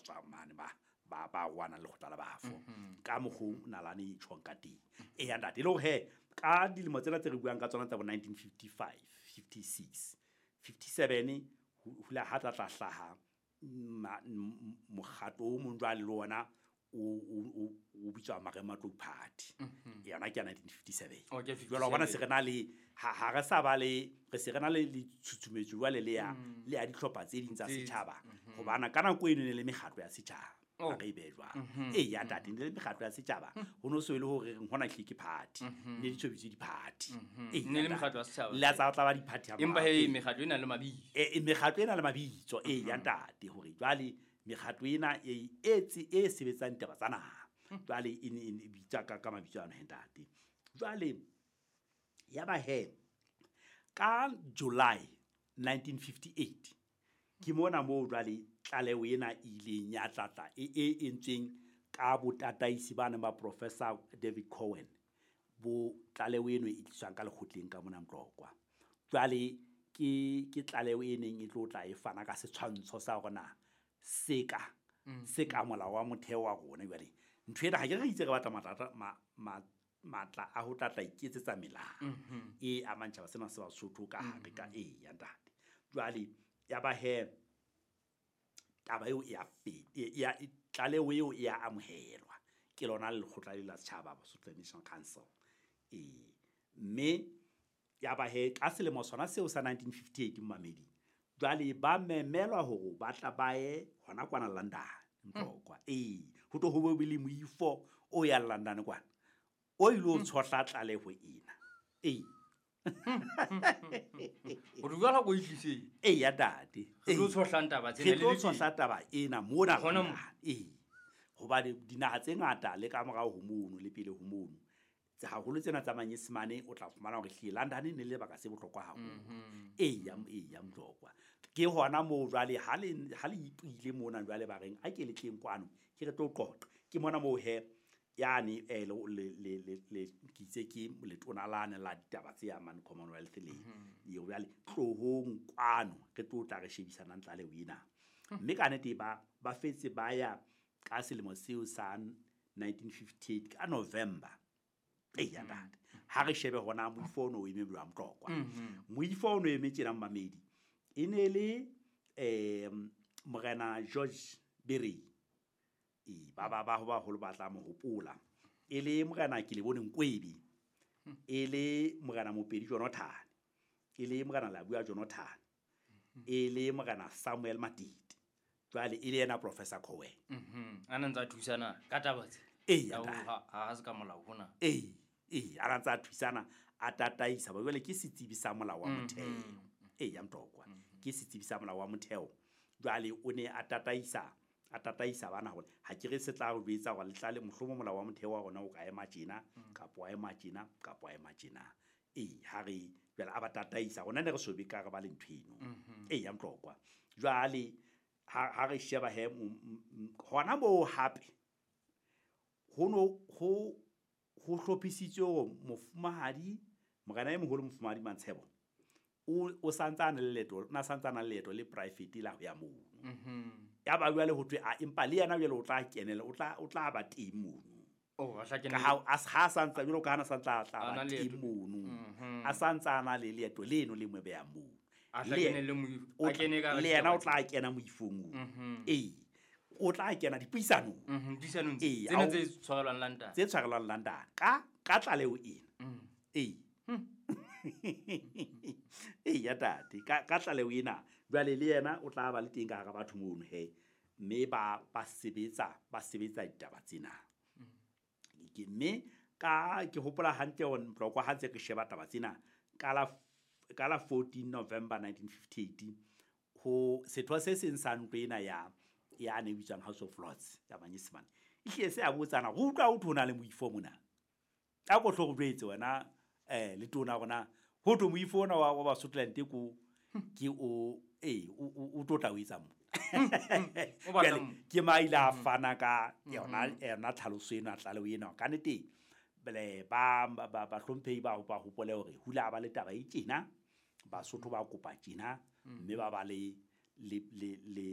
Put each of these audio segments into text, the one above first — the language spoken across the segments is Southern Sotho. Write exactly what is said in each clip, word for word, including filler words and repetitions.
tswang mane ba ba ba rwana le lekgotla la bafo ka mokgo nalane e tjhong ka teng. E ya ntate, e le hore he ka dilemo tsena tse re buang ka tsona tsa bo nineteen fifty-five, fifty-six, fifty-seven ho la ha tla tla hlaha mokgatlo o mong jwale le ona o o o bitswa Marematlou Party. Yona ke ya nineteen fifty-seven. Jwale wa bona se re na le ha ha re sa ba le re se re na le le tshutshumetso jwale le ya le ya dihlopha tse ding tsa setjhaba. Hobana ka nako eno ne le mekgatlo ya setjhaba. A re be jwang. E ya ntate, ne le mekgatlo ya setjhaba. Ho no so e le hore re hona hle ke party. Ne di tshobitse di-party. E ne le mekgatlo ya setjhaba. Le tsa tla ba di-party ha Empa he mekgatlo ena le mabitso. E mekgatlo ena le mabitso. E ya ntate, hore jwale mekgatlo ena e e sebetsang taba tsa naha. Jwale e ne e bitsa ka ka mabitso ano he ntate. Jwale ya ba he ka July nineteen fifty-eight ke mona moo jwale tlaleho ena e ileng ya tlatla e e entsweng ka botataisi ba neng ba Professor David Cohen, bo tlaleho eno e tliswang ka lekgotleng ka mona Mtlokwa. Jwale ke ke tlaleho e neng e tlo tla e fana ka setshwantsho sa hore na seka seka molao wa motheo wa rona. Jwale ntho ena ha ke re itse re batla matla ma matla a ho tlatla iketsetsa melao e amang tjhaba sena se Basotho ka hare ka e ya ntate. Jwale ya ba he taba eo e a feta, ya tlaleho eo e a amohelwa ke lona lekgotla le la setjhaba Basotho National Council. E mme ya ba he ka selemo sona seo sa nineteen fifty-eight mmamedi jwale ba memelwa hore ba tla ba ye hona kwana London Mtlokwa. E ho tlo ho be le moifo o ya London kwana o ile o tshohla tlaleho ena. E o re jwala go itliseng. E ya ntate, re tlo tshohla taba tsena le tlo tshohla taba ena mona e hobane dinaha tse ngata le ka morao ho mono le pele ho mono tse haholo tsena tsa Manyesemane o tla fumana hore hle London ne le lebaka se bohlokwa haholo. E ya e ya Mtlokwa ke hona moo jwale ha le ha le ipile mona jwale ba reng a ke le tleng kwano ke re tlo qoqa. Ke mona moo he yani eh le le le le ke itse ke letona lane la ditaba tse amang Commonwealth le eo jwale tlohong kwano re tlo tla re shebisana tlaleho ena. Mme ka nnete ba ba fetse ba ya ka selemo seo sa nineteen fifty-eight ka November. E ya ntate, ha re shebe hona moifo ono o eme jwang Mtlokwa. Moifo ono eme tjena mmamedi e ne le eh Morena George Berry. E ba ba ba baholo ba tla mo hopola e le Morena ke le bone Nkwebi, e le Morena Mopedi Jonathan, e le Morena Labua Jonathan, e le Morena Samuel Matiti, jwale e le yena Professor Cohen. Mhm a na ntsa thusana ka taba tse e ya ha ha se ka molao hona. E e a ntsa thusana a tataisa ba jwale ke setsebi sa molao wa motheo. E ya Mtlokwa ke setsebi sa molao wa motheo. Jwale o ne a tataisa a tataisa bana hore ha ke re se tla re etsa hore le tlale mohlomo molao wa motheo wa rona o ka ema tjena kapa wa ema tjena kapa wa ema tjena. E ha re jwale a ba tataisa rona ne re sobe ka re ba le ntho eno. E ya Mtlokwa jwale ha ha re sheba he hona moo hape ho no ho ho hlophisitswe hore mofumahadi morena e moholo mofumahadi Mantshebo o o santsana le leeto na santsana le leeto le private la ho ya mono. Ya ba jwale ho thwe a empa le yena jwale o tla kenela o tla o tla ba teng mono. Oh a tla kenela ka ha ha santsa jwalo ka hana santsa tla ba teng mono. A santsa ana le leeto leno le mo beya mono. A tla kenele mo a kene ka le yena o tla kena moifong o. E o tla kena dipuisanong. Mhm dipuisanong tsena tse tshwarelwang London. Tse tshwarelwang London ka ka tlaleho ena. E e ya tate ka ka tlaleho ena jwale le yena o tla ba le teng ka hara batho mono he mme ba ba sebetsa ba sebetsa ditaba tsena. Ke mme ka ke hopola hantle hore Mtlokwa ha ntse ke sheba taba tsena ka la ka la fourteen November nineteen fifty-eight ho setho se seng sa ntlo ena ya ya ne bitswang House of Lords ya Manyesemane e hle se a botsana go utlwa o thona le moifo mona a go hlo go jwetse wena eh le tona rona ho to moifo ona wa wa Basotholand ko ke o eh o tlo tla o etsa mo ke maile a fana ka yona yona tlhaloso ena tlaleho ena ka nnete bele ba ba ba hlomphehi ba ba hopole hore hula ba le taba e tjena Basotho ba kopa tjena mme ba ba le le le le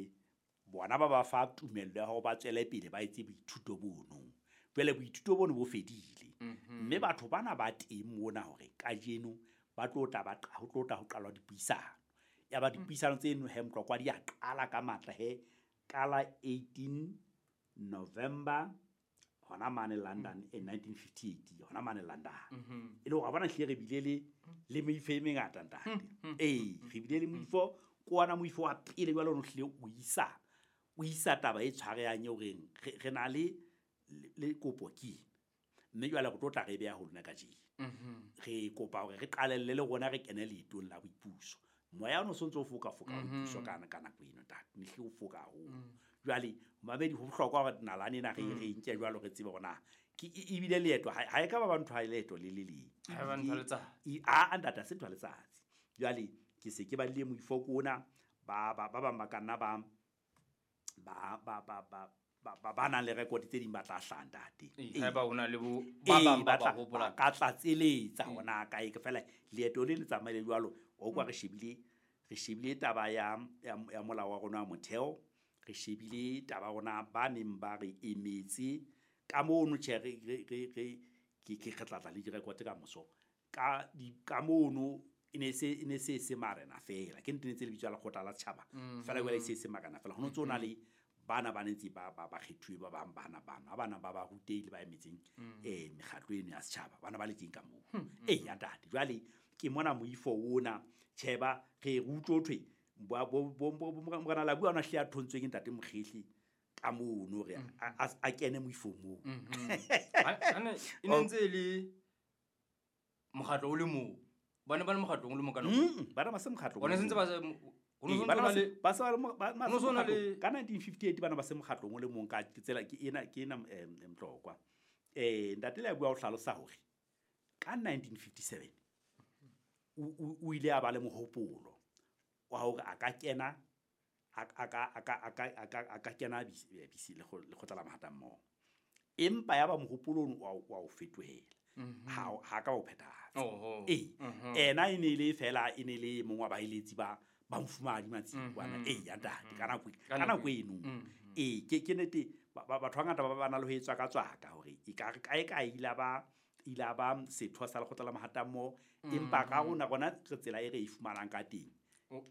Bona ba ba fa tumello ya hore ba tswele pele ba etse boithuto bono. Jwale boithuto bono bo fedile. Mme batho bana ba teng mona hore kajeno ba tlo tla ba ho tlo tla ho qalwa dipuisano. Ya ba dipuisano tseno he Motlokwa di a qala ka matla he kala eighteen November hona mane London in nineteen fifty-eight hona mane London. E le hore bona hle re bile le le meifo e mengata ntate. Eh re bile le moifo kwana moifo wa pele jwale o hle o isa o isa taba e tshwarehang eo reng re na le le kopo ke mme jwale re tlo tla re beha ho lona kajeno. Re kopa hore re qalelle le rona re kene leetong la boipuso. Moya ono sontso o foka foka boipuso kana kana nako eno ntate ne hle o foka haholo. Jwale mamedi ho bohlokwa hore nalane ena re re nke jwalo re tsebe hore na ke ebile leeto ha e ka ba ba ntho ha leeto le le leng. Ha ba ntho letsatsi. A ntate se ntho letsatsi. Jwale ke se ke ba le moifo kona ba ba ba bang ba ka nna ba ba ba ba ba ba ba nang le record tse ding ba tla hlaha ntate. Ha ba hona le bo ba bang ba ba hopola ka tlatseletsa hona kae ke fela leeto le le tsamaile jwalo o kwa re shebile re shebile taba ya ya molao wa rona wa motheo, re shebile taba rona ba neng ba re emetse ka mono tjhe re re re ke ke re tlatla le direkote ka moso ka ka mono e ne se e ne se se marena fela ke ntse le bitsa lekgotla la setjhaba fela jwale se se marena fela ho ntse o na le bana ba ntse ba ba kgethuwe ba bang bana bana bana ba ba rutehile ba emetseng eh mekgatlo eno ya setjhaba bana ba le teng ka moo. Eh ya ntate jwale ke mona moifo ona tjheba re utlwe thwe bo bo morena la bua ona hle a thontswe ke ntate Mokgehli ka mono re a kene moifo moo. Ane e ne ntse le mokgatlo o le moo bana ba le mokgatlo o le mo kana bana ba se mokgatlo bona sentse ba se ba se ba ka nineteen fifty-eight bana ba se mokgatlong o le mong ka tsela ke ena ke ena Motlokwa. Eh ntate le bua o hlalosa hore ka nineteen fifty-seven o ile a ba le mohopolo wa hore a ka kena a ka a ka a ka a ka a ka kena B C le lekgotla la mahatammoho empa ya ba mohopolo wa wa o fetohela ha ha ka o phethahatsa. Eh ena e ne le fela e ne le mongwa ba eletsi ba ba mfumadi matsibana eh ya ntate ka nako ka nako eno eh ke ke nete batho ba ngata ba ba na le ho etswa ka tswaka hore e ka kae kae ila ba ila ba setho sa lekgotla la mahatammoho empa ka rona rona re tsela e re e fumanang ka teng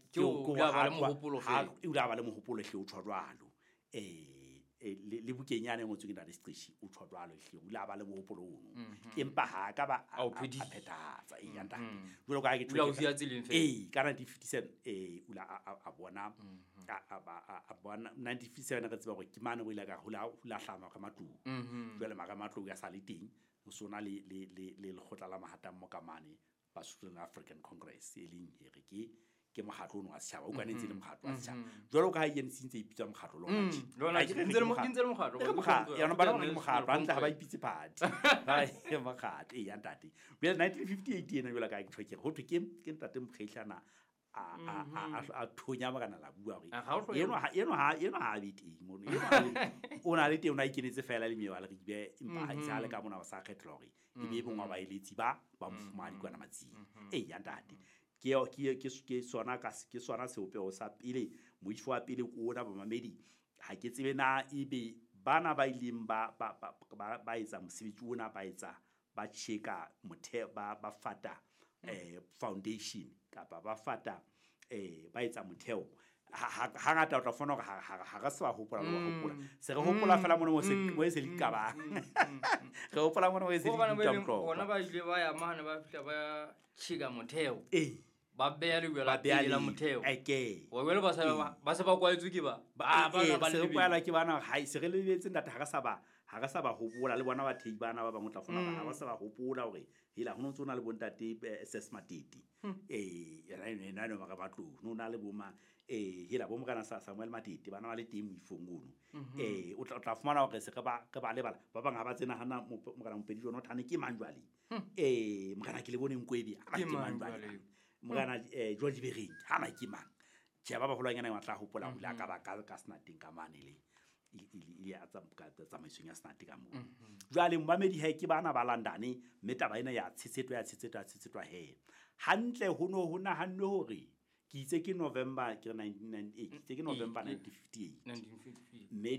ke o ba le mohopolo fela o la ba le mohopolo hle o tshwa jwalo eh le bukeng yana e ngotsweng ke ntate Seqeshi o tshwa jwalo hle o la ba le mohopolo ono empa ha ka ba a phethahatsa e ya ntate jwalo ka ke eh ka nineteen fifty-seven eh o la a bona a bona nineteen fifty-seven re tseba hore ke mane o ile ka hula hula hlama ka matlung jwale mara matlung ya sa le teng o sona le le le le lekgotla la mahatammoho ka mane ba Southern African Congress e leng here ke ke mokgatlo ono wa setjhaba o kanetse le mokgatlo wa setjhaba jwalo ka ha e N C ntse e ipitsa mokgatlo lona lona ntse le ntse le mokgatlo ke mokgatlo yona ba le mokgatlo hantle ha ba ipitse party ha e mokgatlo e ya ntate jwale nineteen fifty-eight ena jwalo ka ke tjho ke ho thwe ke ke ntate Mokgehli a a a a thonya morena la bua hore eno ha eno ha eno ha be teng mono eno o na le teng o na ikenetse fela le mewa le re ibe empa ha isale ka mona ba sa kgethelwa hore e be bongwa ba eletsi ba ba mofumadi kwana matsing e ya ntate ke ke ke ke sona ka ke sona seopeho sa pele moifo wa pele ko ona ba mamedi ha ke tsebe na ebe bana ba ileng ba ba ba etsa mosebetsi ona ba etsa ba cheka motheo ba ba fata eh foundation kapa ba fata eh ba etsa motheo ha ngata o tla fona hore ha re se ba hopola le hopola se re hopola fela mona mo se mo se le ka re hopola mona mo se le ka bona ba ile ba ya mane ba fihla ba cheka motheo eh ba beya le la pele la motheo okay wa wele ba sa ba se ba kwaetswe ke ba ba ba ba le kwala ke bana ha se re lebetse ntate ha re sa ba ha re sa ba hopola le bona ba thei bana ba bang o tla fona ha ba sa ba hopola hore hela ho ntse ona le bontate S S Matete eh yena ena no ba batlo no na le boma eh hela bo morena Samuel Matete bana ba le teng moifong ono eh o tla tla fumana hore se re ba re ba lebala ba bang ha ba tsena hana morena Mopedi jona thane ke mang jwale eh morena ke le bone Nkwebe ha ke mang jwale morena eh George Bereng ha na ke mang tjhe ba baholwanyana ba tla hopola hore ka ba ka ka senateng ka mane le ile a tsamaisong ya senate ka moo. Jwale momamedi he ke bana ba London mme taba ena ya tshetsetwa ya tshetsetwa ya tshetsetwa he hantle ho no ho nahannwe hore Ke itse ke November, ke re nineteen ninety-eight, ke itse ke November Ee, nineteen fifty-eight. nineteen fifty-eight. Mme